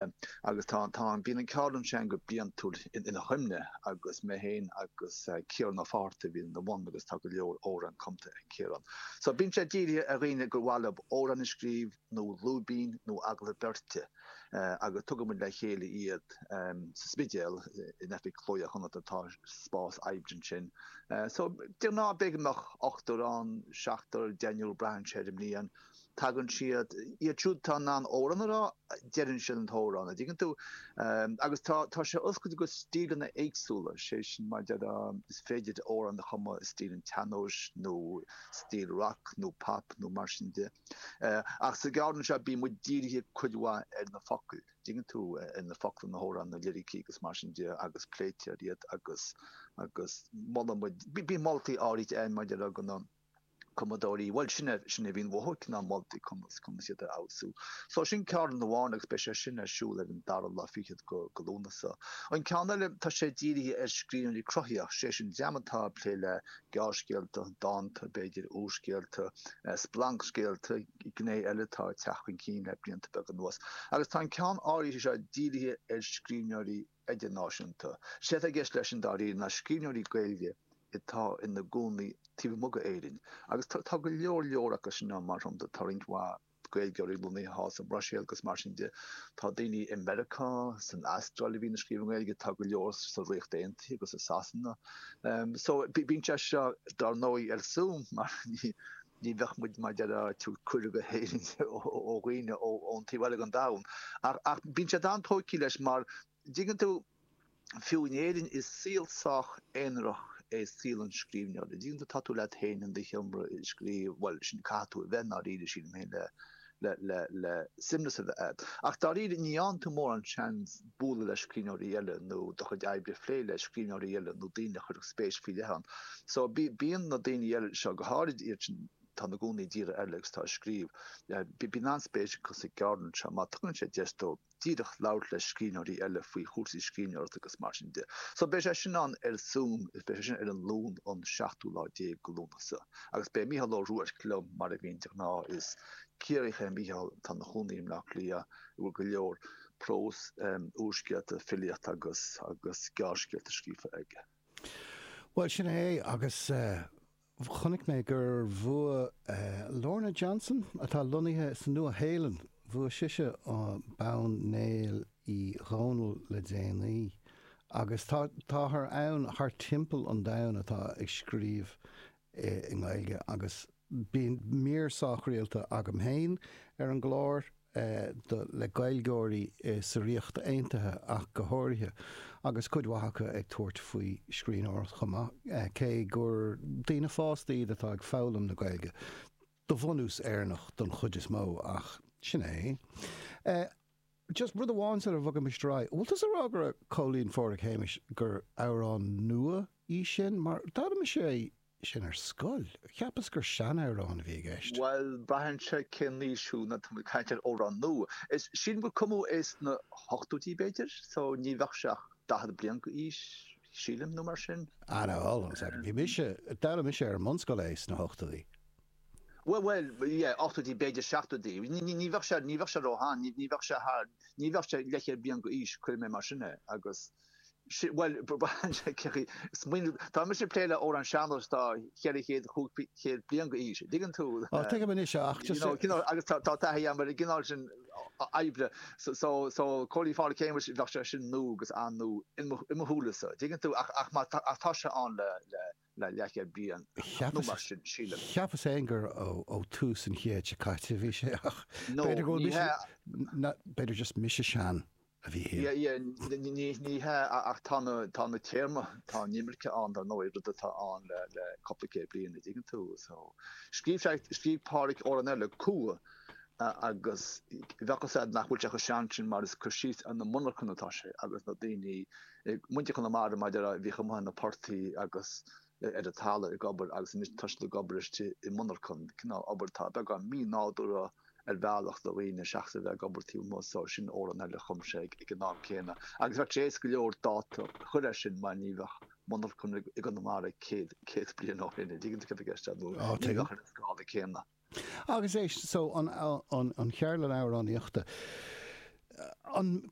Agus tá, tá, bíonn an ceardlann sin go bliantúil ina chuimhne agus mé féin agus Ciarán Ó Fátharta a bhíonn ina bhun agus tá go leor amhrán cumtha ag Ciarán. So bíonn sé dírithe ar dhaoine gur mhaith leo amhrán a scríobh nó lúibín nó agallamh beirte agus tugann muid le chéile iad sa Spidéal in oifig Cló Iar-Chonnachta tá spás oibre ansin. So de ghnáth b'fhéidir go mbeadh ochtar ann, seachtar, deichniúr, braitheann sé ar an mbliain. Tagann siad, iad siúd atá in ann amhrán a rá, deireann siad an t-amhrán, an dtuigeann tú? Agus tá, tá sé oscailte go stíleanna éagsúla, sé sin mar déarfá, is féidir amhrán a chumadh i stíl an tsean-nóis nó stíl rock nó pop nó mar sin de. Ach sa gceardlann seo bíonn muid dírithe cuid mhaith ar na focail, dtuigeann tú, ar na focla na hamhrán, na liricí agus mar sin de agus pléitear iad agus, agus molann muid, bíonn moltaí áirithe ann mar déarfá do na. cumadóirí, bhuel, sin é, sin é a bhíonn uathu, cineál moltaí conas, conas iad a fheabhsú. So sin ceardlann amháin agus beidh sé sin ar siúl ar an dara lá fichead go, go Lúnasa. An ceann eile, tá sé dírithe ar scríbhneoirí cruthaitheach, sé sin dream atá ag plé le gearrscéalta, dánta, b'fhéidir, úrscéalta, splancscéalta, gné eile atá ag teacht chun cinn le blianta beaga anuas. Agus tá an ceann áirithe seo dírithe ar scríbhneoirí idirnáisiúnta. Is é atá i gceist leis sin dáiríre ná scríbhneoirí Gaeilge atá ina gcónaí taobh amuigh d'Éirinn. Agus tá go leor leor acu sin ann, mar shampla, tá roinnt mhaith Gaeilgeoirí lonnaithe thall sa mBruiséil agus mar sin de. Tá daoine i Meiriceá, san Astráil a bhíonn ag scríobh i nGaeilge, tá go leor sa Ríocht Aontaithe agus i Sasana. So bíonn sé seo dar ndóigh ar Zoom mar ní ní bheadh muid mar déarfá ag tabhairt cuireadh go hÉirinn ó dhaoine ón taobh eile den domhan. Ach bíonn sé an-tógtha leis mar, dtuigeann tú, fiú in Éirinn is saol sách aonarach é saol an scríbhneora. Dtuigeann tú, tá tú leat féin in do sheomra ag scríobh, bhuel, sin caithfidh tú a bheith i ndáiríre, sílim féin, le le le le suaimhneas a bheith agat. Ach dáiríre, ní fhaigheann tú mórán seans bualadh le scríbhneoirí eile nó do chuid oibre a phlé le scríbhneoirí eile nó daoine a chuirfeadh spéis faoi leith ann. So bíonn na daoine eile seo, go háirid iad sin atá ina gcónaí i dtíortha eile agus atá ag scríobh, bíonn an-spéis acu sa gceardlann seo mar tugann sé deis dóibh díreach labhairt le scríbhneoirí eile faoi chúrsaí scríbhneoireachta agus mar sin de. So beidh sé sin ann ar Zoom, beidh sé sin ar an Luan an seachtú lá déag de Lúnasa. Agus beidh Mícheál Ó Ruairc liom mar a bhíonn de ghnáth. Is Ciarraíoch é Mícheál atá ina chónaí i mBleá Cliath, a bhfuil go leor prós, úrscéalta, filíocht agus agus gearrscéalta scríofa aige. Bhuel, sin é, agus chonaic mé gur bhuaigh Lorna Johnson, atá lonnaithe sa Nua-Shéalainn, bhuaigh sise bonn Néill Uí Dhónaill le déanaí. Agus tá, táthar ann thart timpeall an domhain atá ag scríobh i nGaeilge agus bíonn mír sách rialta agam féin ar an gclár do le Gaeilgeoirí sa Ríocht Aontaithe ach go háirithe, agus cuid mhaith acu ag tabhairt faoi scríbhneoireacht chomh maith, cé gur daoine fásta iad atá ag foghlaim na Gaeilge, de bhunús Éireannach don chuid is mó, ach sin é. Just rud amháin sula bhogaimis ar aghaidh, bhfuil tusa ag rá go raibh Cóilín Pháraic Shéamais gur amhrán nua í sin? Mar d'fhoghlaim mise é sin ar scoil. Cheapas gur seanamhrán a bhí i gceist. Bhuel, braitheann sé cén aois thú nuair atá muid ag caint ar amhrán nua. Is sílim gur cumadh é sna hochtóidí b'fhéidir, so ní bheadh sé ach 40 bliain d'aois, sílim, nó mar sin. Ah no, hold on a second. Bhí mise, d'fhoghlaim mise ar an mbunscoil é sna hochtóidí. Bhuel, bhuel, yeah, ochtóidí, b'fhéidir seachtóidí. Ní, ní, ní bheadh sé, ní bheadh sé ró-shean, ní, ní bheadh sé thar, ní bheadh sé leathchéad bliain d'aois, cuirfidh mé mar sin é, agus, si, bhuel, braitheann sé cé chaoi, smaoineamh, tá mise ag plé le amhrán sean-nóis atá 400, 500 bliain d'aois, an dtuigeann tú? Ó, tuigim anois, ach just. You know, cineál, agus tá, tá taithí agam ar an gcineál sin oibre, so, so, so, Cóilín Pháraic Shéamais, bheadh sé sin nua agus an-nua in mo, i mo shúile-sa, an dtuigeann tú, ach, ach má tá, ach tá sé ann le, le, le leathchéad bliain nó mar sin, sílim. Cheapas féin gur ó tús an chéid seo caite a bhí sé ach b'fhéidir go bhfuil mise, b'fhéidir just mise sean a bhí thiar. Yeah, yeah, ní hea ach tá na, tá na téarmaí, tá an imirce ann dar ndóigh, rud atá ann le, le cúpla céad bliain, an dtuigeann tú, so. Scríobh sé, scríobh Páraic amhrán eile, Cumha, agus bheadh fhios a'd nach bhfuil sé chomh sean sin mar is cur síos ar na monarchana atá sé agus na daoine, muintir Chonamara mar a déarfá a bhíodh amuigh ar na portaigh agus ar an talamh ag obair agus anois tá siad ag obair istigh i monarchan, cineál obair atá beagán mí-nádúrtha ar bhealach do dhaoine seachas a bheith ag obair taobh amuigh so sin amhrán eile a chum sé ag an am céanna. Agus bheadh sé éasca go leor dáta a chur air sin mar ní bheadh monarchan i gConamara 100, 100 bliain ó shin, an dtuigeann tú céard atá i gceist agam nó ní bheadh ar an scála céanna. Agus éist, so, an, an, an cheardlann amhránaíochta. An.